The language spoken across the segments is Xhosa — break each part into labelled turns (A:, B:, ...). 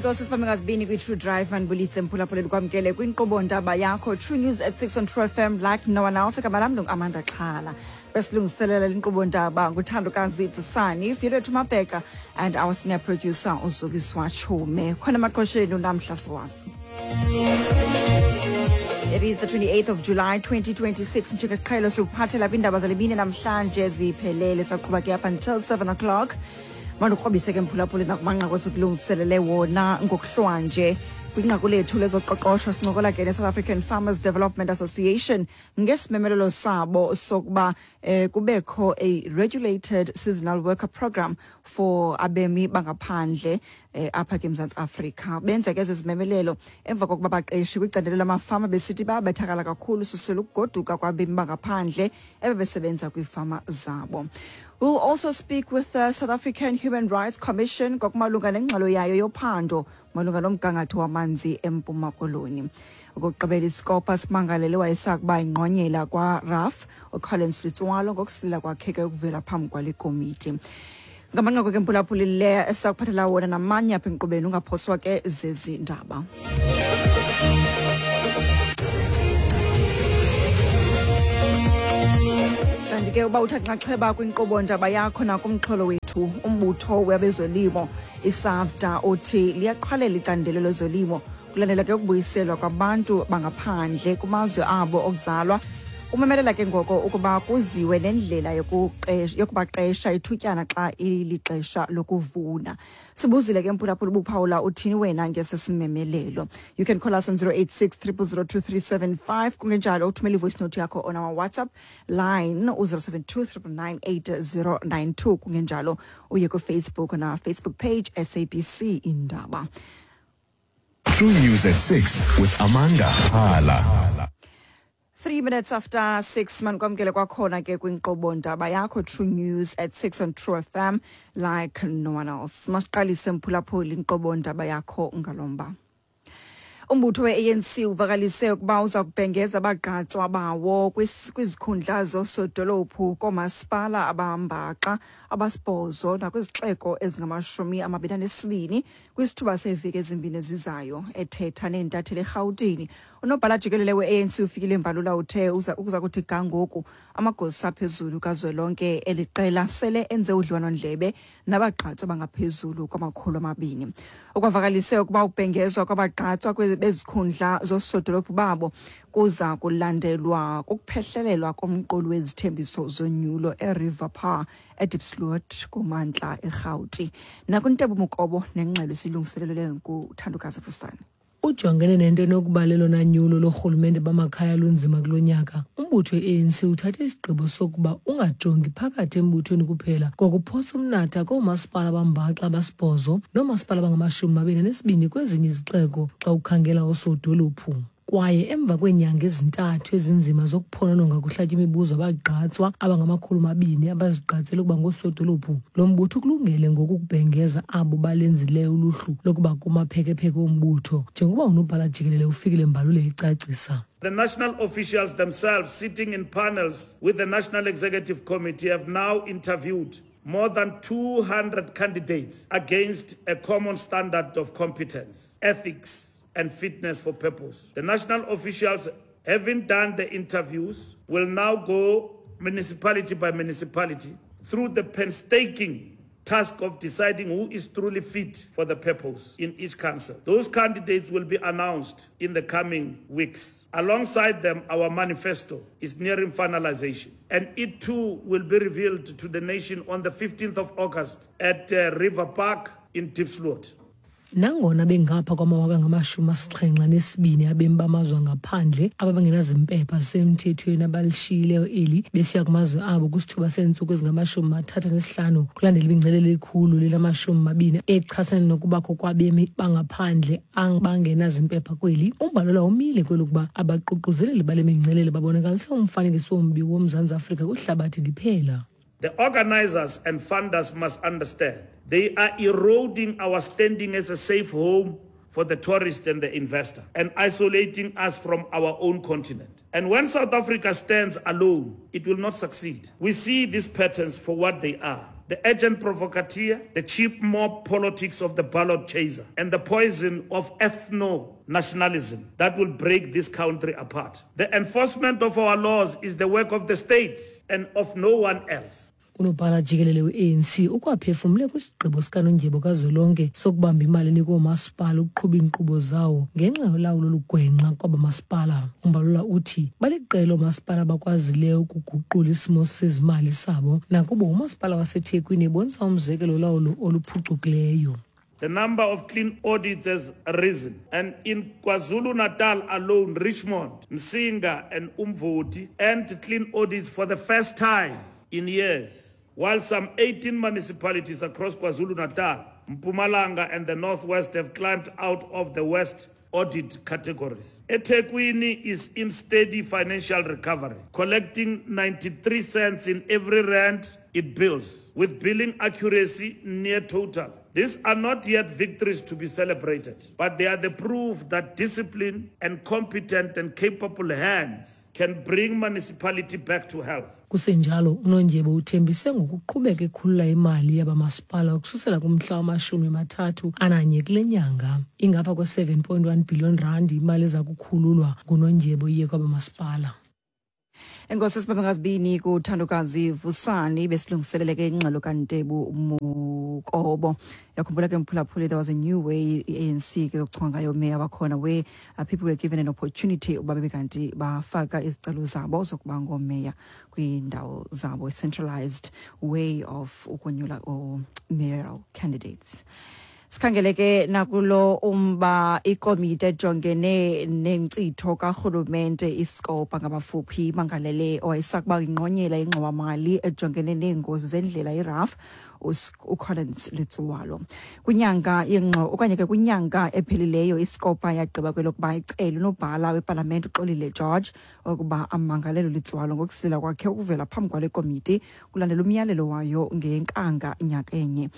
A: Enkosi sibambe ngazibini kwi-True Drive. Mandibulise mphulaphula, ndikwamkele kwinkqubo ndaba yakho True News at 6 on True FM like no one else. Igama lam ndinguAmanda Xhala. Besilungiselela linkqubo ndaba nguthandokazi Vusani, Vuyolwethu Mabheka and our senior producer uZukiswa Chume. Khona emaqhosheni unamhla sowazi. It is the 28th of July 2026. Njengesiqhelo sikuphathela kwiindaba zale mini namhlanje ziphelele, saqhuba ke up until 7 o'clock. Mandikrobise ke mphulaphuli nakumanqaku esikulungiselele wona ngokuhlwanje. Kwinqaku lethu lezoqoqosho sincokola ke ne-South African Farmers Development Association ngesimemelelo sabo sokuba kubekho a regulated seasonal worker program for abemi bangaphandle apha ke eMzantsi Afrika. Benza ke ezi zimemelelo emva kokuba baqeshi kwicandelo lamafama besithi bayabethakala kakhulu susela ukugoduka kwabemi bangaphandle ebebesebenza kwiifama zabo. We'll also speak with the South African Human Rights Commission ngokumalunga nengxelo yayo yophando malunga nomgangatho wamanzi eMpuma Koloni. Ukugqibela iScopa simangalele wayesakuba ingqonyela kwaRAF uCollins Letsoalo ngokusilela kwakhe ke ukuvela phambi kwale komiti. Ngamanqaku ke mphulaphuli le esakuphathela wona namanye apha enkqubeni, ungaphoswa ke zezi ndaba. Kanti ke uba uthatha inxaxheba kwinkqubo ndaba yakho nakumxholo wethu, umbutho wabezolimo iSAFDA uthi liyaqhwalela icandelo lezolimo kulandela ke ukubuyiselwa kwabantu bangaphandle kumazwe abo okuzalwa. Umemelela ke ngoko ukuba kuziwe nendlela yokubaqesha ithutyana xa ilixesha lokuvuna. Sibuzile ke mphulaphula ubuphawula uthini wena ngesi simemelelo. You can call us on 086 0002375, kungenjalo uthumele ivoice note yakho on our WhatsApp line u-072 999 8092, kungenjalo uye kuFacebook on our Facebook page SABC Indaba.
B: True News at 6 with Amanda Hala.
A: 3 minutes after 6, manikwamkele kwakhona ke kwinkqubo ndaba yakho True News at 6 on True FM like no one else. Masiqalise mphulaphuli inkqubo ndaba yakho ngalomba. Umbutho we-ANC uvakalise ukuba uza kubhengeza abagqatswa bawo kwizikhundla zoosodolophu koomasipala abambaxa abasibhozo nakwizixeko ezingama-22 kwisithuba seeveki ezimbini ezizayo. Ethetha neentatheli eRhawutini, unobhala jikelele we-ANC uFikile Mbalula uthe ukuza kuthi ga ngoku amagosa aphezulu kazwelonke eli qela sele enze udliwanondlebe nabagqatswa abangaphezulu kwama-200. Ukwavakalise ukuba ukubhengezwa kwabagqatswa bezikhundla zoosodolophu babo kuza kulandelwa kukuphehlelelwa komqulu wezithembiso zonyulo eRiver Park eDiepsloot kumantla eRhawuti. Nakuntebo Mukobo nengxelo esilungiselelwe nguthandokazi Vusani.
C: Ujongene nento enokuba lelona nyulo lorhulumente bamakhaya lunzima kulo nyaka, umbutho i-ANC uthathe isigqibo sokuba ungajongi phakathi embuthweni kuphela ngokuphosa umnatha koomasipala abambaxa abasibhozo noomasipala abangama-22 kwezinye izixeko xa ukhangela oosodolophu. Kwaye emva kweenyanga ezintathu ezinzima zokuphonononga kuhlatya imibuzo abagqatswa abangama-200 abazigqatsele ukuba ngoosodolophu, lo mbutho ukulungele ngoku ukubhengeza abo balenzileyo uluhlu lokuba kumaphekepheke ombutho, njengoba unobhala jikelele uFikile Mbalula ecacisa.
D: The national officials themselves sitting in panels with the National Executive Committee have now interviewed more than 200 candidates against a common standard of competence, ethics, and fitness for purpose. The national officials, having done the interviews, will now go municipality by municipality through the painstaking task of deciding who is truly fit for the purpose in each council. Those candidates will be announced in the coming weeks. Alongside them, our manifesto is nearing finalization, and it too will be revealed to the nation on the 15th of August at River Park in Diepsloot.
C: Nangona bengapha kwamawaka ngama-72 abemi bamazwe angaphandle ababengenazimpepha zisemthethweni abalishiyileyo eli besiya kumazwe abo kwisithuba seentsuku ezingama-35 kulandela imingcelele 120 echasene nokubakho kwabemi bangaphandle abangenazimpepha kweli, uMbalula umile kwelokuba abaququzeleli bale mingcelele babonakalise umfanekiso ombi woMzantsi Afrika kwihlabathi liphela.
D: The organizers and funders must understand they are eroding our standing as a safe home for the tourist and the investor and isolating us from our own continent. And when South Africa stands alone, it will not succeed. We see these patterns for what they are. The agent provocateur, the cheap mob politics of the ballot chaser, and the poison of ethno nationalism that will break this country apart. The enforcement of our laws is the work of the state and of no one else.
C: Unobhala jikelele we-ANC ukwaphefumle kwisigqibo sikanondyebo kazwelonke sokubamba imali enikwa oomasipala ukuqhuba iinkqubo zawo ngenxa yolawulo olugwenxa kwaba masipala. Umbalula uthi baliqela oomasipala abakwazileyo ukuguqula isimo sezimali sabo nakubo umasipala waseThekwini ebonisa umzekelo wolawulo oluphucukileyo.
D: The number of clean audits has risen. And in KwaZulu-Natal alone, Richmond, Msinga and Umvoti earned clean audits for the first time in years, while some 18 municipalities across KwaZulu-Natal, Mpumalanga and the Northwest have climbed out of the worst audit categories. eThekwini is in steady financial recovery, collecting 93 cents in every rand it bills, with billing accuracy near total. These are not yet victories to be celebrated, but they are the proof that discipline and competent and capable hands can bring municipality back to health.
C: Kusenjalo, uNondyebo uthembise ngokuqhubeka ekhulula imali yabamasipala ukususela kumhla wamashumi 31 kule nyanga. Ingapha kwe-7.1 billion rand imali eza kukhululwa nguNondyebo iye kwabamasipala.
A: Enkosi sibambe ngazibini kuthandokazi Vusani besilungiselele ke ingxelo kaNtebu Mukobo. Yakhumbula ke mphulaphuli, there was a new way i-ANC ke yokuchonga ngayo meya bakhona, where people were given an opportunity ukuba bebe kanti bafaka izicelo zabo zokuba ngoomeya kwiindawo zabo, a centralized way of ukonyula mayoral candidates. Sikhangele ke nakulo umba, ikomiti ejongene nenkcitho karhulumente, iSCOPA ngamafuphi, imangalele owayesakuba ingqonyela ingxowamali ejongene neengozi zendlela, iRAF, uCollins Letsoalo. Kwinyanga yengxo okanye ke kwinyanga ephelileyo, iSCOPA yagqiba kwelokuba icele unobhala wepalamente uXolile George ukuba amangalelo Letsoalo ngokusilela kwakhe ukuvela phambi kwale komiti kulandela umyalelo wayo ngenkanga nyakenye.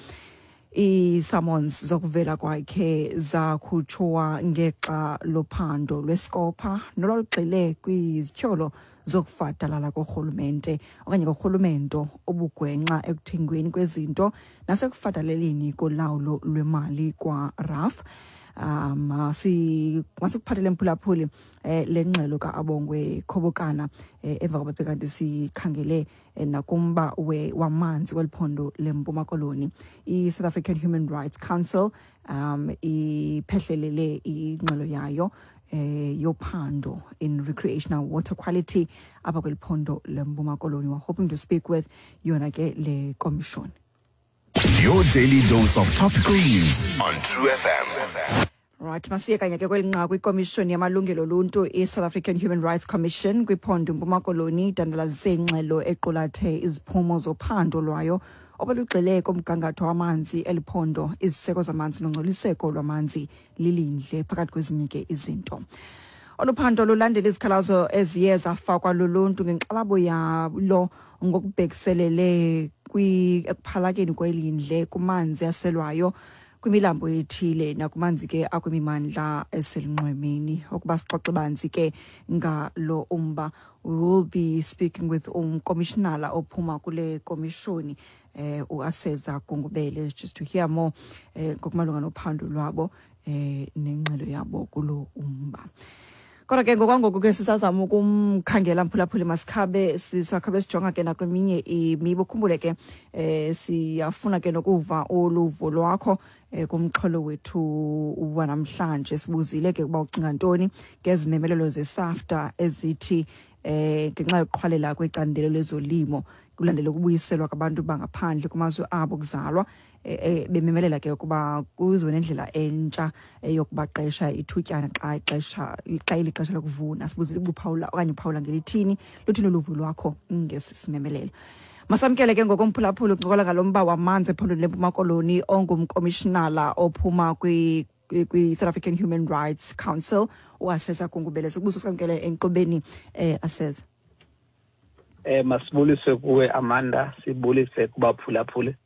A: Ii-summons zokuvela kwakhe zakhutshwa ngexa lophando lweSCOPA nolwalugxile kwizityholo zokufadalala korhulumente okanye korhulumento obugwenxa ekuthengweni kwezinto nasekufadaleleni kolawulo lwemali kwaRAF. Masikuphathele mphulaphuli le ngxelo ka-Abongwe Khobokana emva koba kanti sikhangele nakumba wamanzi kweli phondo leMpuma Koloni. I-South African Human Rights Council iphehlelele ingxelo yayo yophando in recreational water quality apha kweli phondo leMpuma Koloni. We're hoping to speak with yona ke le commission.
B: Your daily dose of topical news on True FM.
A: Right, masiye kanye ke kweli nqaku. Ikomishoni yamalungelo oluntu, i-South African Human Rights Commission kwiphondo iMpuma Koloni, idandalazise ingxelo equlathe iziphumo zophando lwayo obelugxile kumgangatho wamanzi eliphondo, iziseko zamanzi nongcoliseko lwamanzi lilindle, phakathi kwezinye ke izinto. Olu phando lulandela izikhalazo eziye zafakwa luluntu ngenkxalabo yalo ngokubhekiselele ekuphalakeni kwelindle kumanzi aselwayo kwimilambo ethile nakumanzi ke akwimimandla eselunxwemeni. Ukuba sixoxe banzi ke ngalo umba, we will be speaking with umkomishinala ophuma kule komishoni, uAseza Gungubele, just to hear more ngokumalunga nophando lwabo nengxelo yabo kulo umba. Kodwa ke ngokwangoku ke sisazama ukumkhangela mphulaphuli, masikhabe sisakhabe sijonga ke nakweminye imiba. Ukhumbule ke siyafuna ke nokuva uluvo lwakho kumxholo wethu wanamhlanje. Sibuzile ke ukuba ucinga ntoni ngezimemelelo zeSAFDA ezithi ngenxa yokuqhwalela kwecandelo lezolimo kulandela ukubuyiselwa kwabantu bangaphandle kumazwe abo kuzalwa, bememelela ke ukuba kuziwe nendlela entsha yokubaqesha ithutyana xa ixesha xa ilixesha lokuvuna. Sibuzile ubuphawula okanye uphawula ngelithini, luthini uluvo lwakho ngesi simemelelo. Masamkele ke ngokomphulaphula ukuncokola ngalo mba wamanzi ephondweni leMpuma Koloni ongumkomishinala ophuma kwi-South African Human Rights Council, uAseza Gungubele. Sokubuza sikamkele enkqubeni, Aseza.
E: Masibulise kuwe Amanda, sibulise kubaphulaphuli.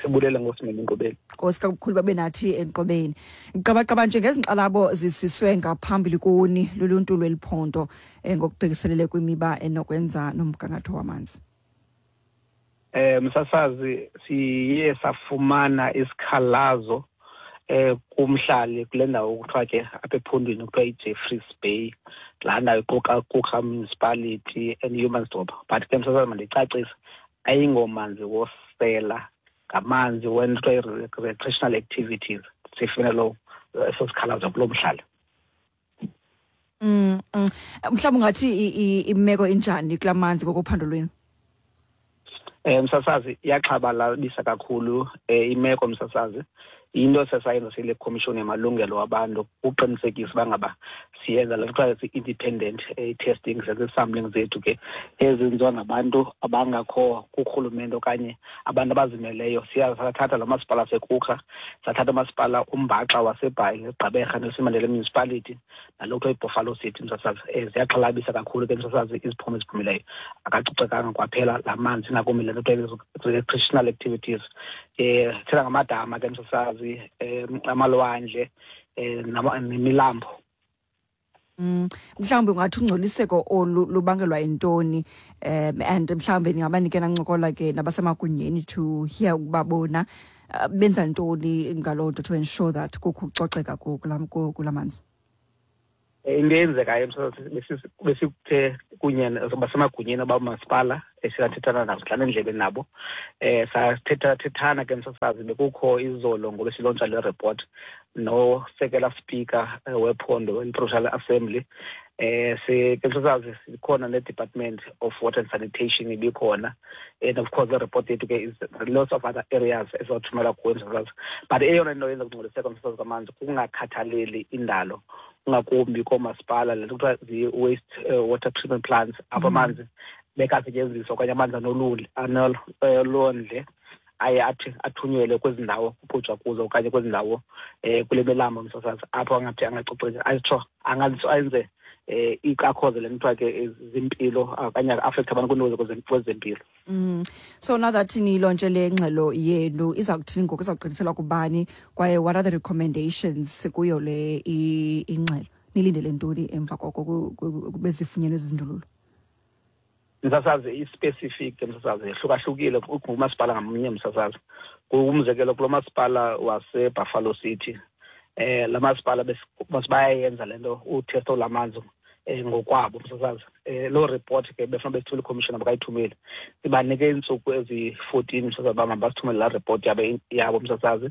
E: Sibulele ngosimema enkqubeni.
A: Nkosi kakhulu babe nathi enkqubeni. Qabaqaba nje ngezinkxalabo zisiswe ngaphambili kuni luluntu lweliphondo ngokubhekiselele kwimiba enokwenza nomgangatho wamanzi.
E: Msasazi, siye safumana isikhalazo kumhlali kule ndawo kuthiwa ke apha ephondweni kuthiwa iJeffreys Bay, laa ndawo iquka Coega Municipality and Humansdorp. But ke msasazi, mandicacise, ayingomanzi wosela, ngamanzi wento kuthiwa i-recreational activities. Sifune lo eso sikhalazo kulo mhlali.
A: Mhlawumbi ungathi imeko injani kula manzi ngokophando lwenu?
E: Msasazi, iyaxhabalabisa kakhulu imeko msasazi. Into sesayenza sile commission yamalungelo wabantu uqinisekisa uba ngaba siyenza le kuthiwa si-independent testing, senze sampling zethu ke ezenziwa ngabantu abangakho kurhulumente okanye abantu abazimeleyo. Siya sathatha lo masipala seKuga, sathatha umasipala umbaxa waseBhayi, eGqeberha, Nelson Mandela Municipality, nalo kuthiwa iBuffalo City msasazi. Ziyaxhalabisa kakhulu ke msasazi iziphumo eziphumileyo. Akacocekanga kwaphela la manzi, ingakumbi le nto kuthiwa recreational activities. Thela ngamadama ke msasazi, amalwandle, nemilambo.
A: Mhlawumbi ungathi ungcoliseko olu lubangelwa yintoni, and mhlawumbi ningaba nike nancokola ke nabasemagunyeni to hear ukuba bona benza ntoni ngaloo nto to ensure that kukho ukucoceka kula manzi?
E: Into eyenzekayo msasazi, besikuthe kunye basemagunyeni abamasipala esiyathethana nabo, sidlala indlebe nabo. Sathetha thethana ke msasazi, bekukho izolo ngoba silontsha le report nosekela speaker wephondo i-Provincial Assembly. Ke msasazi, sikhona ne-Department of Water and Sanitation ibikhona, and of course the report yethu ke is lots of other areas esiwathumela kuyo msasazi. But eyona nto yenza kungcoliseka msasazi kwamanzi kukungakhathaleli indalo, ngakumbi koomasipala, le nto kuthiwa zii-waste water treatment plants, apho amanzi bekasetyenziswa okanye amanzi anolondle aye athi athunyelwe kwezi ndawo kuqhutshwa kuzo okanye kwezi ndawo kule milambo msasazi, apho angathi angacoceki, ayitsho angathi enze ikakhoze le nto kuthiwa ke zimpilo okanye affect abantu kwiinto kwezempilo.
A: So now that nilontshe le ngxelo yenu, iza kuthini ngoku? Iza kugqithiselwa kubani, kwaye what are the recommendations kuyo le ingxelo? Nilindele ntoni emva koko bezifunyenwe ezi zindululo?
E: Msasazi, i-specific msasazi yahlukahlukile kumasipala ngamnye msasazi. Umzekelo, kulo masipala waseBuffalo City, la masipala bayayenza le nto utesto lamanzi ngokwabo msasazi. Loo report ke befuna besithule ikhomishona bakayithumeli, sibanike iintsuku ezi-14 msasazi uba mabasithumele laa report yabo msasazi.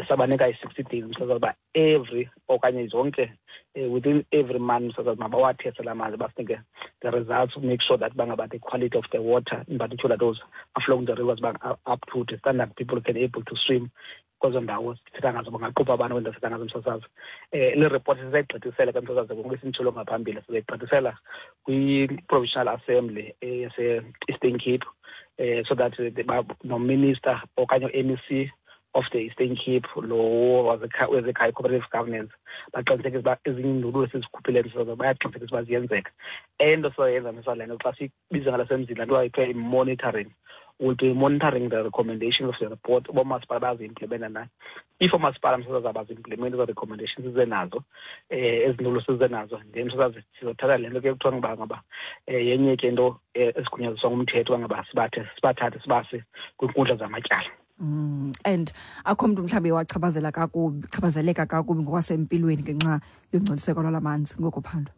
E: Sabanika i-60 days msasazi uba every okanye zonke within every month msasazi mabawatheste la manzi, basinike the results, make sure that bangaba the quality of the water, in particular those flowing the rivers, ba up to the standard people can able to swim kwezo ndawo sithetha ngazo, bangaqubha abantu kwezo sithetha ngazo msasazi. Le report sisayigqithisela ke msasazi, ngoku besinditshilo ngaphambili, sizayigqithisela kwi-Provincial Assembly yase-Eastern Cape, so that no-minister okanye u-MEC of the Eastern Cape lo wezekhaya, cooperative governance, baqinisekise uba ezinye iindululo esizikhuphileyo msasazi bayaqinisekisa uba ziyenzeka. Ento sizoyenza msasazi, le nto xa siyibiza ngelasemzini laa nto kuthiwa i-monitoring, will be monitoring the recommendations of the report, uba oomasipala bayazi-implementa na. If oomasipala msasazi abazi-implementi ezo recommendations size nazo, ezi ndululo size nazo, then msasazi sizothatha le nto ke kuthiwa ngaba yenye ke into esigunyaziswa ngumthetho uba ngaba sibathathe sibase kwiinkundla zamatyala.
A: And akho mntu mhlawumbi wachaphazela kakubi, chaphazeleka kakubi ngokwasempilweni ngenxa yongcoliseko lwala manzi ngokophando?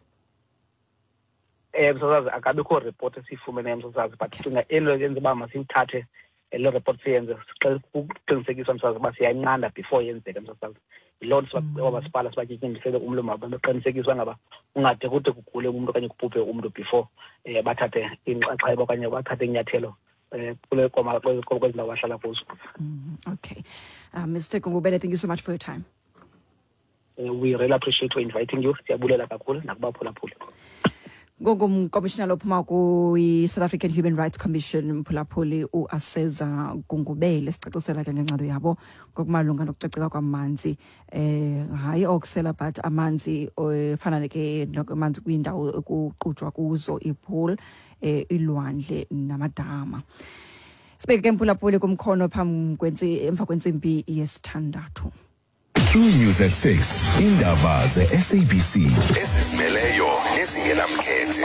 E: Msasazi, akabikho report esiyifumeneyo msasazi, but cinga into yenza uba masiyithathe le report siyenze ukuqinisekisa msasazi uba siyayinqanda before yenzeke msasazi. Yiloo nto oomasipala sibatyityindisele umlomo wabo, beqinisekisa uba ngaba ungade kude kugule umntu okanye kubhubhe umntu before bathathe inxaxheba okanye bathathe inyathelo kule kwezi ndawo bahlala kuzo.
A: Okay. Mr. Gungubele, thank you so much for your time.
E: We really appreciate for inviting you. Siyabulela kakhulu nakubaphulaphuli.
A: Ngongumkomishinala ophuma kwi-South African Human Rights Commission, mphulaphuli, uAseza Gungubele, sicacisela ke ngengxelo yabo ngokumalunga nokucoceka kwamanzi, hayi okusela but amanzi efana ke amanzi kwiindawo ekuqujwa kuzo, ipool, ilwandle namadama. Sibeke ke mphulaphuli kumkhono phambi kwentsi emva kwentsimbi yesithandathu.
B: True News at 6. Indaba ze-SABC ezizimeleyo nezingenamkhethe.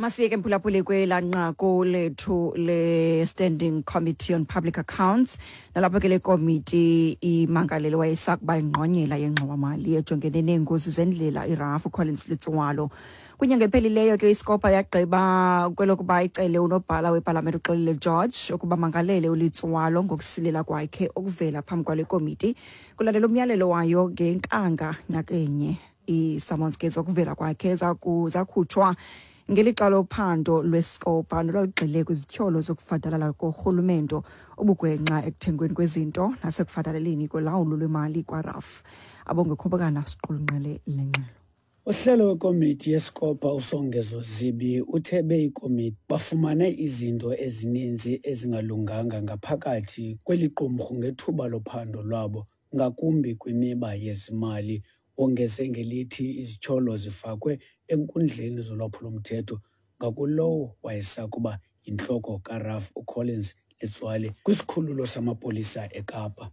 A: Masiyeke mphulaphuli kwelaa nqaku lethu le-Standing Committee on Public Accounts, nalapho ke le komiti imangalele wayesakuba ingqonyela yengxowamali ejongene neengozi zendlela iRAF uCollins Letsoalo. Kwinyanga ephelileyo ke iScopa yagqiba kwelokuba icele unobhala wepalamente uXolile George ukuba mangalele uLetsoalo ngokusilela kwakhe ukuvela phambi kwale komiti kulandela umyalelo wayo ngenkanga nyakenye. Ii-summons ke zokuvela kwakhe zakhutshwa ngelixa lophando lweScopa nolwalugxile kwizityholo zokufadalala korhulumento, ubugwenxa ekuthengweni kwezinto nasekufadaleleni kolawulo lwemali kwaRAF. Abongekhobokana siqulunqele le ngxelo.
F: Uhlelo wekomiti yeScopa uSongezo Zibi uthe beyikomiti bafumane izinto ezininzi ezingalunganga ngaphakathi kweli qumrhu ngethuba lophando lwabo, ngakumbi kwimiba yezimali. Wongeze ngelithi izityholo zifakwe enkundleni zolwaphulomthetho ngakulowo wayesakuba yintloko kaRAF uCollins Letsoale kwisikhululo samapolisa eKapa.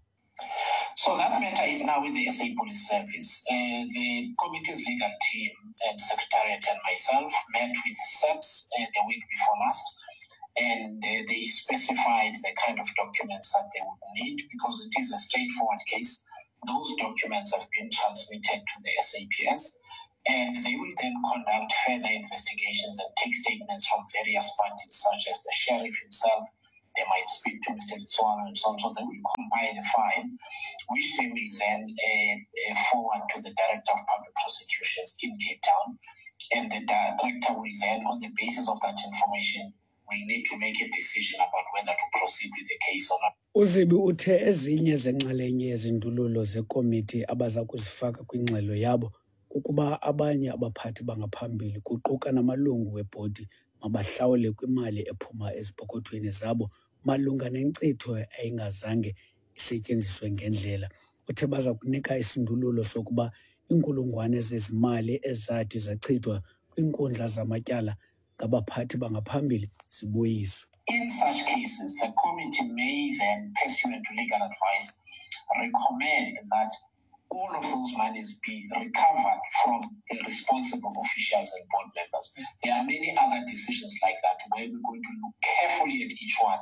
G: So that matter is now with the SA Police Service. The committee's legal team and secretariat and myself met with SAPS the week before last, and they specified the kind of documents that they would need because it is a straightforward case. Those documents have been transmitted to the SAPS, and they will then conduct further investigations and take statements from various parties, such as the sheriff himself. They might speak to Mr. Letsoalo and so on. So they will compile a file, which they will then forward to the Director of Public Prosecutions in Cape Town. And the director will then, on the basis of that information, will need to make a decision about whether to proceed with the case or not.
F: UZibi uthe ezinye zenxalenye yezindululo zekomiti abaza kuzifaka kwingxelo yabo kukuba abanye abaphathi bangaphambili kuquka namalungu webhodi mabahlawule kwimali ephuma ezipokothweni zabo malunga nenkcitho eyayingazange isetyenziswe ngendlela. Uthe baza kunika isindululo sokuba iinkulungwane zezimali ezathi zachithwa kwiinkundla zamatyala ngabaphathi bangaphambili zibuyiswe.
G: In such cases, the committee may then, pursuant to legal advice, recommend that all of those monies be recovered from the responsible officials and board members. There are many other decisions like that where we're going to look carefully at each one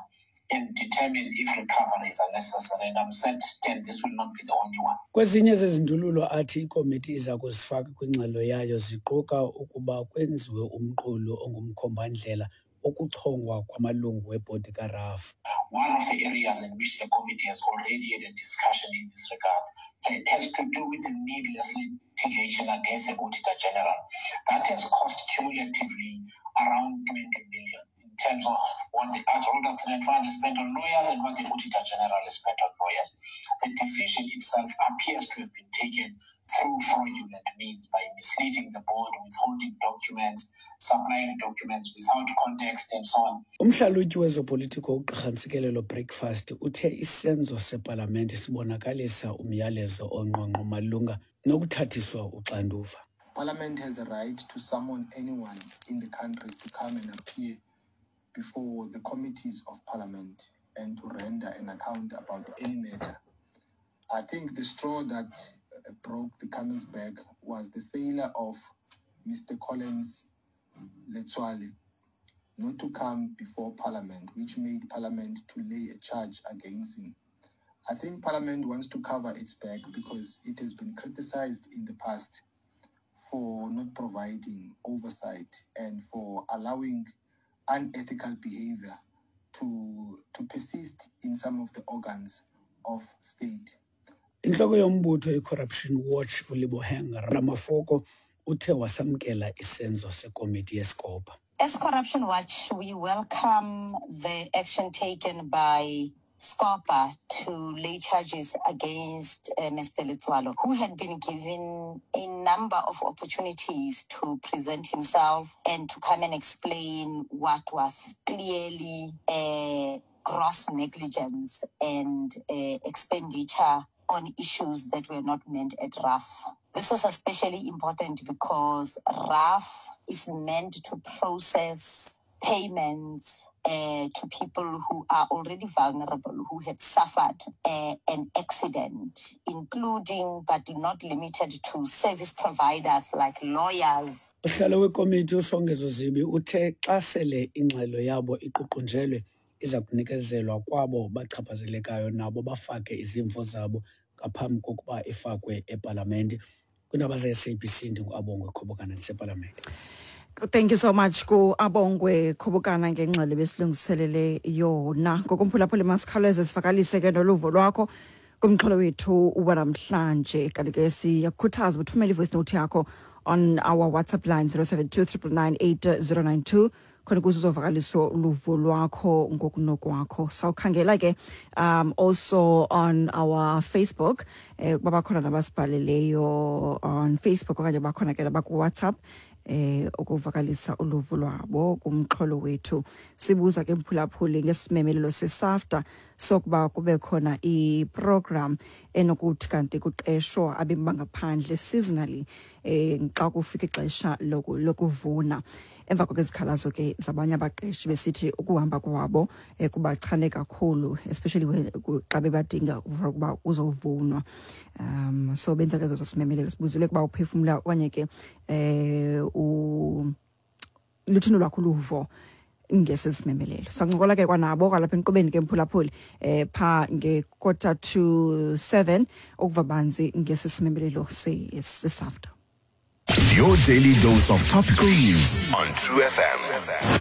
G: and determine if recoveries are necessary. And I'm certain this will not be the only one.
F: Kwezinye zezindululo athi ikomiti iza kuzifaka kwingxelo yayo ziquka ukuba kwenziwe umqulu ongumkhombandlela wokuchongwa kwamalungu webhodi kaRAF.
G: One of the areas in which the committee has already had a discussion in this regard has to do with the needless litigation against the Auditor General. That has cost cumulatively around 20 million in terms of what the Road Accident Fund has spent on lawyers and what the Auditor General has spent on lawyers. The decision itself appears to have been taken through fraudulent means by misleading the board, withholding documents, supplying documents without context and so on.
F: Umhlalutyi wezopolitiko uGqirha Ntsikelelo Breakfast uthe isenzo sepalamente sibonakalisa umyalezo ongqongqo malunga nokuthathiswa uxanduva.
H: Parliament has a right to summon anyone in the country to come and appear before the committees of Parliament and to render an account about any matter. I think the straw that broke the camel's back was the failure of Mr. Collins Letsoale not to come before Parliament, which made Parliament to lay a charge against him. I think Parliament wants to cover its back because it has been criticized in the past for not providing oversight and for allowing unethical behavior to persist in some of the organs of state.
F: Inhloko yombutho iCorruption Watch uLebohang Ramafoko uthe wasamkela isenzo sekomiti yeScopa.
I: As Corruption Watch, we welcome the action taken by SCOPA to lay charges against Mr. Letsoalo, who had been given a number of opportunities to present himself and to come and explain what was clearly a gross negligence and expenditure on issues that were not meant at RAF. This is especially important because RAF is meant to process payments uh, to people who are already vulnerable, who had suffered uh, an accident, including but not limited to service providers like lawyers.
F: Usihlalo wekomiti uSongezo Zibi uthe xa sele ingxelo yabo iququnjelwe iza kunikezelwa kwabo bachaphazelekayo nabo bafake izimvo zabo ngaphambi kokuba ifakwe epalamente. Kwiindaba ze-SABC ndinguAbongwe Khobokana ndisepalamente.
A: Thank you so much ku Abongwe Khobokana ngengxelo besilungiselele yona. Ngokumphulaphula masikhawuleze sivakalise ke noluvo lwakho kumxholo wethu wanamhlanje. Kanti ke siyakukhuthaza uthumele i-voice note yakho on our WhatsApp line 072 999 8092 khona ukuze uzovakalisa uluvo lwakho ngokunokwakho. Sawukhangela ke also on our Facebook, ukuba bakhona nabasibhaleleyo on Facebook okanye bakhona ke nabaku-WhatsApp ukuvakalisa uluvo lwabo kumxholo wethu. Sibuza ke mphulaphuli ngesimemelelo seSAFTA sokuba kube khona iprogram enokuthi kanti kuqeshwa abemi bangaphandle seasonally xa kufika ixesha lokuvuna, emva kwezikhalazo ke zabanye abaqeshi besithi ukuhamba kwabo kubachane kakhulu, especially xa bebadinga for ukuba kuzovunwa. So benza ke zozo simemelelo. Sibuzile ukuba uphefumla okanye ke luthini lwakho uluvo ngesi simemelelo. Sancokola ke kwanabo kwalapha enkqubeni ke mphulaphuli pha nge-6:45 ukuva banzi ngesi simemelelo seSAFTA.
B: Your daily dose of topical news on True FM.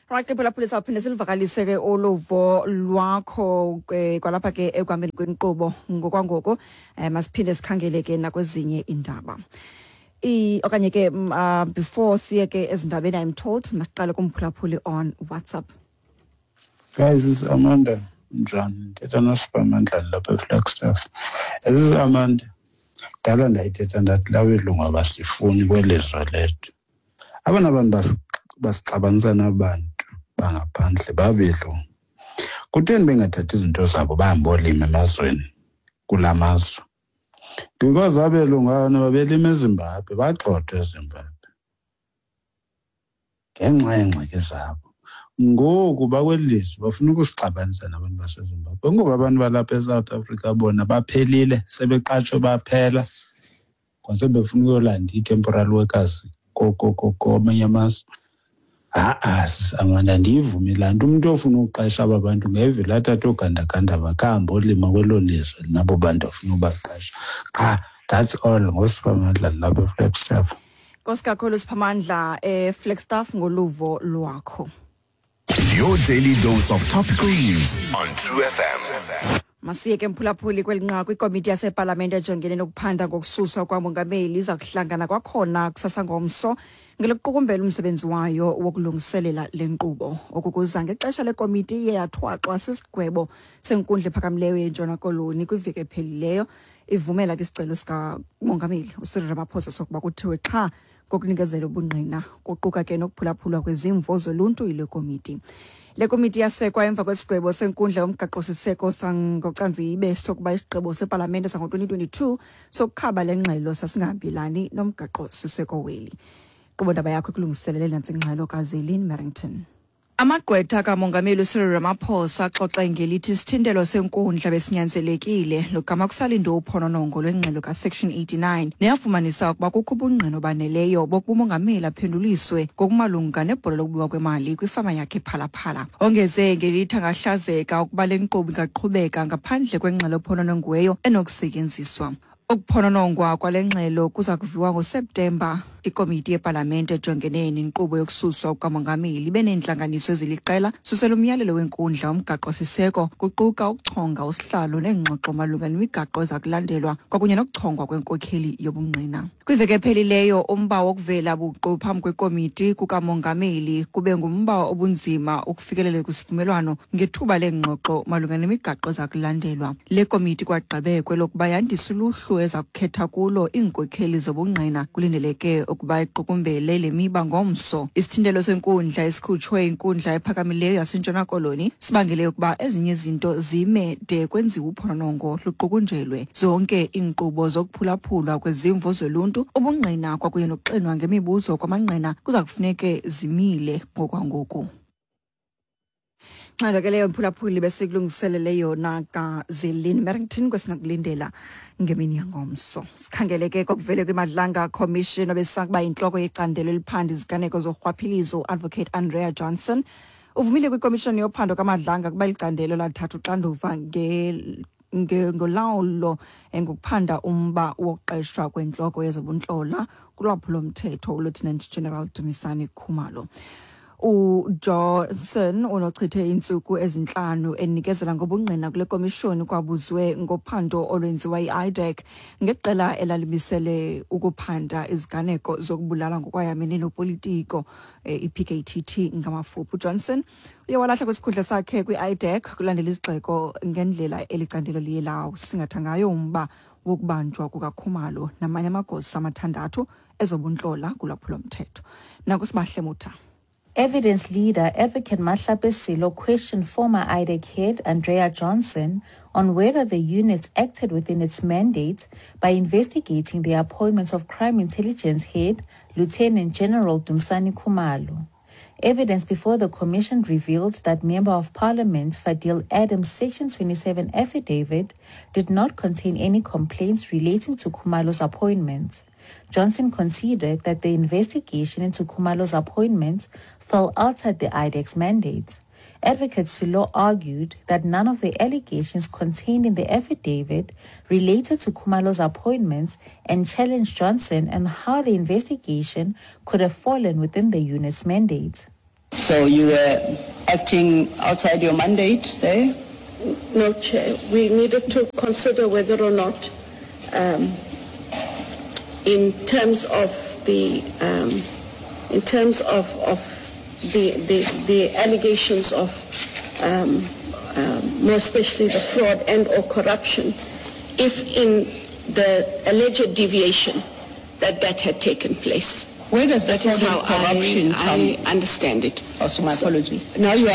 A: Right ke phulaphuli, sawuphinde siluvakalise ke uluvo lwakho ke kwalapha ke ekuhambeni kwenkqubo. Ngokwangoku masiphinde sikhangele ke nakwezinye iindaba. Okanye ke before siye ke ezindabeni, I'm told masiqale kumphulaphuli on WhatsApp.
J: Guys, it's Amanda. Njani? Ndithetha noSiphamandla lapha eFlagstaff. This is Amanda. Dala ndayithetha ndathi laa belungu abasifuni kweli zwe lethu. Abona bantu basixabanisa nabantu bangaphandle babelungu. Kutheni bengathathi izinto zabo bahambe bolima emazweni kula mazwe? Because abelungu abana babelima eZimbabwe, bagxothwa eZimbabwe ngenxa yeengxaki zabo. Ngoku bakweli lizwe bafuna ukusixabanisa nabantu baseZimbabwe. Ngoku abantu balapha eSouth Africa bona baphelile, sebeqatshwe baphela, kwase befuna ukuyolanda ii-temporary workers kwamanye amazwe. Ha-a, sisi Amanda, andiyivumi laa nto. Umntu ofuna ukuqesha aba bantu ngevele athathe oogandaganda bakhe ahambe olima kwelo lizwe nabo bantu afuna ubaqesha. Qha, that's all. NgoSiphamandla lapha eFlagstaff.
A: Nkosi kakhulu Siphamandla eFlagstaff ngoluvo lwakho.
B: Your daily dose of topical news on True FM.
A: Masiye ke mphulaphuli kweli nqaku. Ikomiti yasepalamente ejongene nokuphanda ngokususwa kwamongameli iza kuhlangana kwakhona kusasa ngomso ngelokuqukumbela umsebenzi wayo wokulungiselela le nkqubo. Oku kuza ngexesha lekomiti iye yathwaxwa sisigwebo senkundla ephakamileyo yeNtshona Koloni kwiveki ephelileyo, ivumela ke isicelo sikamongameli uCyril Ramaphosa sokuba kuthiwe xha ngokunikezela ubungqina, kuquka ke nokuphulaphulwa kwezimvo zoluntu yile komiti. Le komiti yasekwa emva kwesigwebo senkundla yomgaqo-siseko sangoCanzibe sokuba isigqibo sepalamente sango-2022 sokukhaba le ngxelo sasingahambelani nomgaqo-siseko weli. Nkqubo yakho ikulungiselele nantsi ingxelo kaZelin Merrington. Amagqwetha kamongameli uCyril Ramaphosa axoxe ngelithi isithintelo senkundla besinyanzelekile logama kusalindwe uphononongo lwengxelo kaSection 89 neyafumanisa ukuba kukho ubungqina obaneleyo bokuba umongameli aphenduliswe ngokumalunga nebhola lokubiwa kwemali kwifama yakhe ePhalaphala. Ongeze ngelithi angahlazeka ukuba le nkqubo ingaqhubeka ngaphandle kwengxelo ephononongiweyo enokusetyenziswa. Ukuphononongwa kwale ngxelo kuza kuviwa ngoSeptemba. Ikomiti yepalamente ejongene nenkqubo yokususwa kukamongameli ibe neentlanganiso eziliqela susela umyalelo wenkundla womgaqo-siseko, kuquka ukuchonga usihlalo neengxoxo malunga nemigaqo eza kulandelwa kwakunye nokuchongwa kwenkokheli yobungqina. Kwiveki ephelileyo, umba wokuvela buqu phambi kwekomiti kukamongameli kube ngumba obunzima ukufikelela kwisivumelwano ngethuba leengxoxo malunga nemigaqo eza kulandelwa. Le komiti kwagqibe kwelokuba yandise uluhlu eza kukhetha kulo iinkokheli zobungqina. Kulindeleke ukuba iqukumbele le miba ngomso. Isithintelo senkundla esikhutshwe inkundla ephakamileyo yaseNtshona Koloni sibangele ukuba ezinye izinto zime de kwenziwe uphononongo luqukunjelwe. Zonke iinkqubo zokuphulaphulwa kwezimvo zoluntu, ubungqina kwakunye nokuxinwa ngemibuzo kwamangqina kuza kufuneke zimile ngokwangoku. Nxelo ke leyo mphulaphuli besikulungiselele yona kazelin Merrington kwesingakulindela ngemini yangomso. Sikhangele ke kokuvele kwiMadlanga Commission obesakuba yintloko yecandelo eliphanda iziganeko zorhwaphilizo uAdvocate Andrea Johnson uvumile kwikomishoni yophando kaMadlanga kuba licandelo lathatha uxanduva ngolawulo ngokuphanda umba wokuqeshwa kwentloko yezobuntlola kulwaphulo-mthetho uLieutenant General Dumisani Khumalo. UJohnson unochithe iintsuku ezintlanu enikezela ngobungqina kule komishoni kwabuzwe ngophando olwenziwa yi-IDAC ngeqela elalimisele ukuphanda iziganeko zokubulala ngokwayamene nopolitiko i-PKTT ngamafuphi. UJohnson uye walahla kwisikhundla sakhe kwi-IDAC kulandela izigxeko ngendlela elicandelo liye lawusingatha ngayo umba wokubanjwa kukaKhumalo namanye amagosa amathandathu ezobuntlola kulwaphulo-mthetho. Nakusibahle Mutha.
K: Evidence leader Advocate Mahlape Silo questioned former IDAC head Andrea Johnson on whether the unit acted within its mandate by investigating the appointment of Crime Intelligence head Lieutenant General Dumisani Khumalo. Evidence before the commission revealed that Member of Parliament Fadil Adams' Section 27 affidavit did not contain any complaints relating to Khumalo's appointment. Johnson conceded that the investigation into Khumalo's appointment fell outside the IDAC's mandate. Advocate Silo argued that none of the allegations contained in the affidavit related to Khumalo's appointment and challenged Johnson on how the investigation could have fallen within the unit's mandate.
L: So you were acting outside your mandate there?
M: No, Chair. We needed to consider whether or not, in terms of the the allegations of more especially the fraud and or corruption, if in the alleged deviation that had taken place.
L: Where does the
M: That is
L: fraud and
M: how
L: corruption come?
M: I understand it.
L: Oh, so my apologies. Now you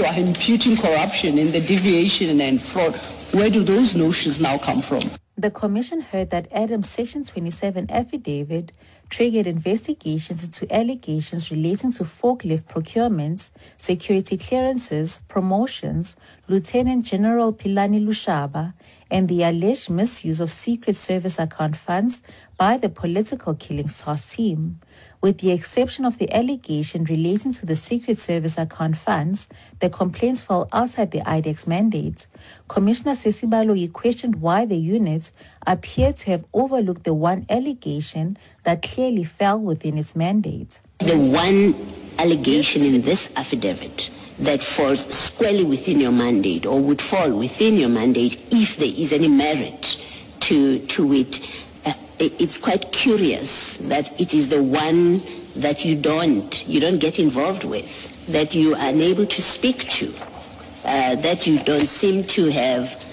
L: are imputing corruption in the deviation and fraud. Where do those notions now come from?
K: The commission heard that Adams' Section 27 affidavit triggered investigations into allegations relating to forklift procurements, security clearances, promotions, Lieutenant General Philani Lushaba, and the alleged misuse of Secret Service account funds by the political killings task team. With the exception of the allegation relating to the Secret Service account funds, the complaints fell outside the IDAC's mandate. Commissioner Sesi Baloyi questioned why the unit appeared to have overlooked the one allegation that clearly fell within its mandate.
N: The one allegation in this affidavit that falls squarely within your mandate or would fall within your mandate if there is any merit to it, it's quite curious that it is the one that you don't get involved with, that you are unable to speak to, that you don't seem to have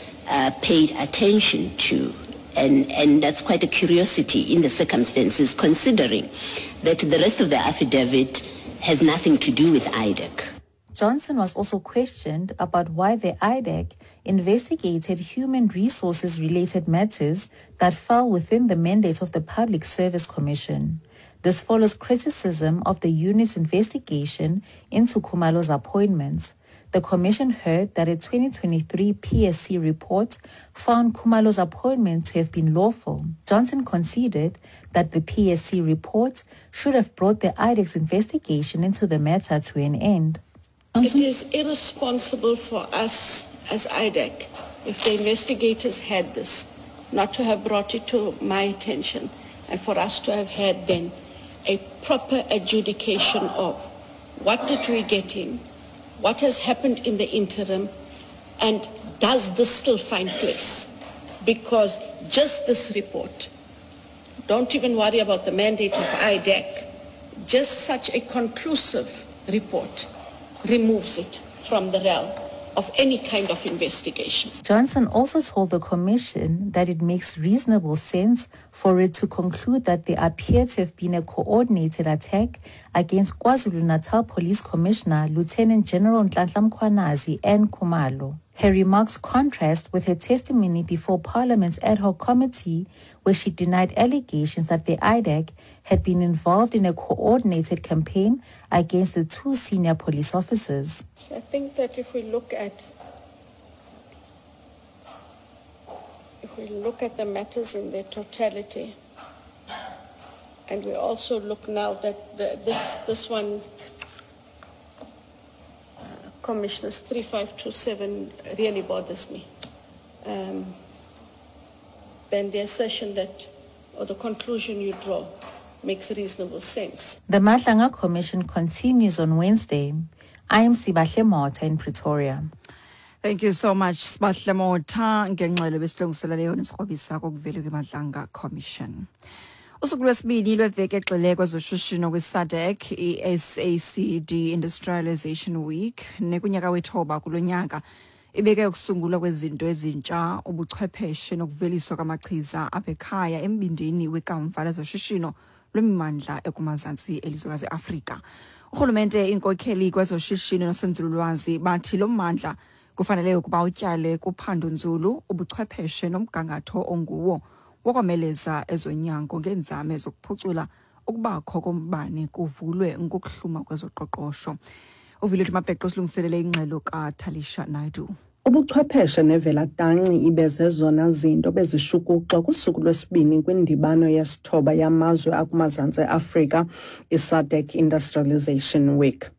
N: paid attention to. And that's quite a curiosity in the circumstances, considering that the rest of the affidavit has nothing to do with IDAC.
K: Johnson was also questioned about why the IDAC investigated human resources-related matters that fell within the mandate of the Public Service Commission. This follows criticism of the unit's investigation into Khumalo's appointments. The commission heard that a 2023 PSC report found Khumalo's appointment to have been lawful. Johnson conceded that the PSC report should have brought the IDAC's investigation into the matter to an end.
M: It is irresponsible for us as IDAC, if the investigators had this, not to have brought it to my attention and for us to have had then a proper adjudication of what did we get in, what has happened in the interim, and does this still find place? Because just this report, don't even worry about the mandate of IDAC, just such a conclusive report removes it from the realm of any kind of investigation.
K: Johnson also told the commission that it makes reasonable sense for it to conclude that there appeared to have been a coordinated attack against KwaZulu-Natal Police Commissioner Lieutenant General Nhlanhla Mkhwanazi and Khumalo. Her remarks contrast with her testimony before Parliament's ad hoc committee, where she denied allegations that the IDAC had been involved in a coordinated campaign against the two senior police officers.
M: So I think that if we look at if we look at the matters in their totality, and we also look now that the, this this one Commissioners 3527 really bothers me. Um, then the assertion that, or the conclusion you draw, makes reasonable sense.
K: The Madlanga Commission continues on Wednesday. I am Sibahle Mota in Pretoria.
A: Thank you so much Sibahle Motha ngengxelo besilungiselele yona isikrobisa kokuvela kwiMadlanga Commission. Usuku lwesibini lweveki egxile kwezoshishino kwiSADC i-SACD Industrialization Week nekunyaka wethoba kulo nyaka ibeke ukusungulwa kwezinto ezintsha ubuchwepheshe nokuveliswa kwamachiza apha ekhaya embindini wekamva lezoshishino lwemimandla ekumazantsi elizwekazi Afrika. Urhulumente, iinkokheli kwezoshishino nosenzululwazi bathi lo mmandla kufanele ukuba utyale kuphando nzulu, ubuchwepheshe nomgangatho onguwo wokomeleza ezonyango ngeenzame zokuphucula ukubakho kombane kuvulwe ngokuhluma kwezoqoqosho. Uvilethu Mabheqo silungiselele ingxelo kaTalisha Naidu.
O: Ubuchwepheshe nevelatanci ibe zezona zinto bezishukuxwa kusuku lwesibini kwindibano yesithoba yamazwe akumazantsi eAfrika iSADC Industrialization Week.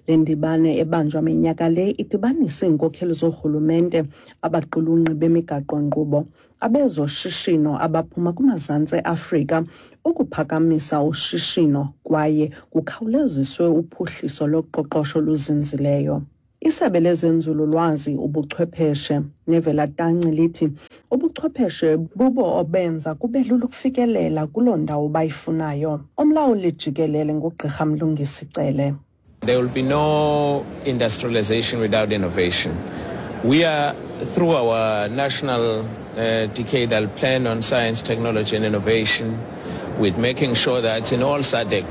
O: Le ndibano ebanjwa minyaka le idibanise iinkokheli zoorhulumente, abaqulunqi bemigaqo-nkqubo, abezoshishino abaphuma kumazantsi eAfrika ukuphakamisa ushishino kwaye kukhawuleziswe uphuhliso loqoqosho oluzinzileyo. Isebe lezenzululwazi, ubuchwepheshe nevelatanci lithi ubuchwepheshe bubo obenza kube lula ukufikelela kuloo ndawo bayifunayo. Umlawuli jikelele nguGqirha Mlungisi Cele.
P: There will be no industrialization without innovation. We are, through our national decadal plan on science, technology and innovation, with making sure that in all SADC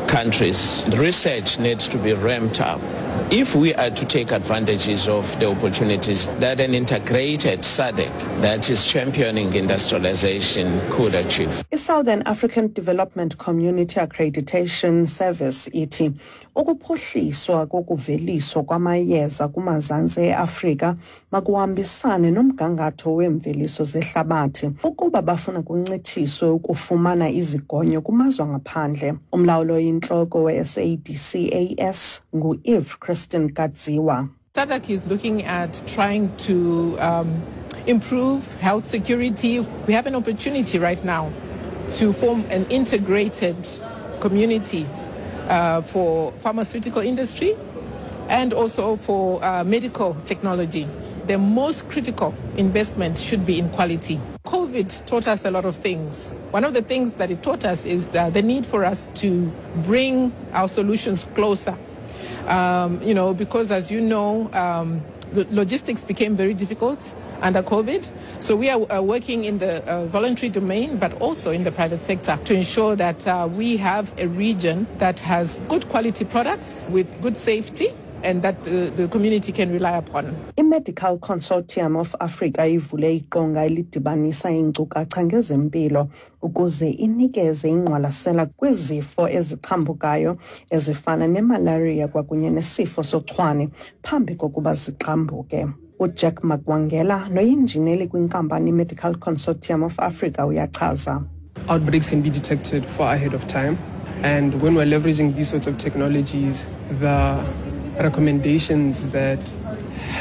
P: countries, research needs to be ramped up. If we are to take advantages of the opportunities that an integrated SADC that is championing industrialization could achieve.
O: I-Southern African Development Community Accreditation Service ithi ukuphuhliswa kokuveliswa kwamayeza kumazantsi e-Afrika makuhambisane nomgangatho weemveliso zehlabathi ukuba bafuna kuncitshiswe ukufumana izigonyo kumazwe angaphandle. Umlawuli oyintloko we-SADCAS ngu-Eve Christine Kadziwa.
Q: SADC is looking at trying to um, improve health security. We have an opportunity right now to form an integrated community uh, for pharmaceutical industry and also for uh, medical technology. The most critical investment should be in quality. COVID taught us a lot of things. One of the things that it taught us is the, the need for us to bring our solutions closer. Um, you know, because as you know, um, logistics became very difficult under COVID. So we are uh, working in the uh, voluntary domain, but also in the private sector to ensure that uh, we have a region that has good quality products with good safety and that the, the community can rely upon.
O: I-Medical Consortium of Africa ivule iqonga elidibanisa iinkcukacha ngezempilo ukuze inikeze ingqwalasela kwizifo eziqhambukayo ezifana nemalaria kwakunye nesifo sochwane phambi kokuba ziqhambuke. UJack Makwangela noyinjineli kwinkampani iMedical Consortium of Africa uyachaza.
R: Outbreaks can be detected far ahead of time. And when we're leveraging these sorts of technologies, the recommendations that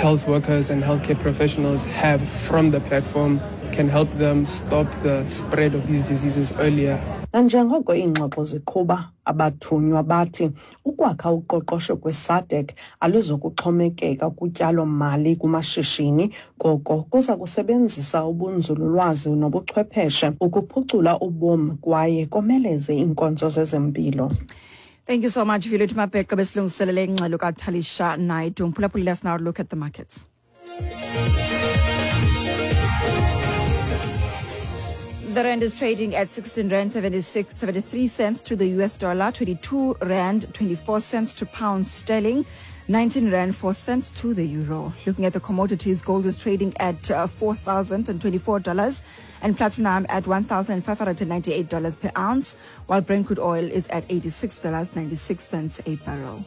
R: health workers and healthcare professionals have from the platform can help them stop the spread of these diseases earlier.
O: Nanjengoko iingxoxo ziqhuba, abathunywa bathi ukwakha uqoqosho kweSADC aluzokuxhomekeka kutyalo-mali kumashishini, koko kuza kusebenzisa ubunzululwazi nobuchwepheshe ukuphucula ubomi kwaye komeleze iinkonzo zezempilo.
A: Thank you so much, Violet Mabheqe besilungiselele ingxelo kaTalisha Naidu. Mphulaphuli, let's now look at the markets. The rand is trading at 16 rand 76 73 cents to the US dollar, 22 rand 24 cents to pound sterling. 19 rand 4 cents to the euro. Looking at the commodities, gold is trading at $4,024 and platinum at $1,598 per ounce, while Brent crude oil is at $86.96 a barrel.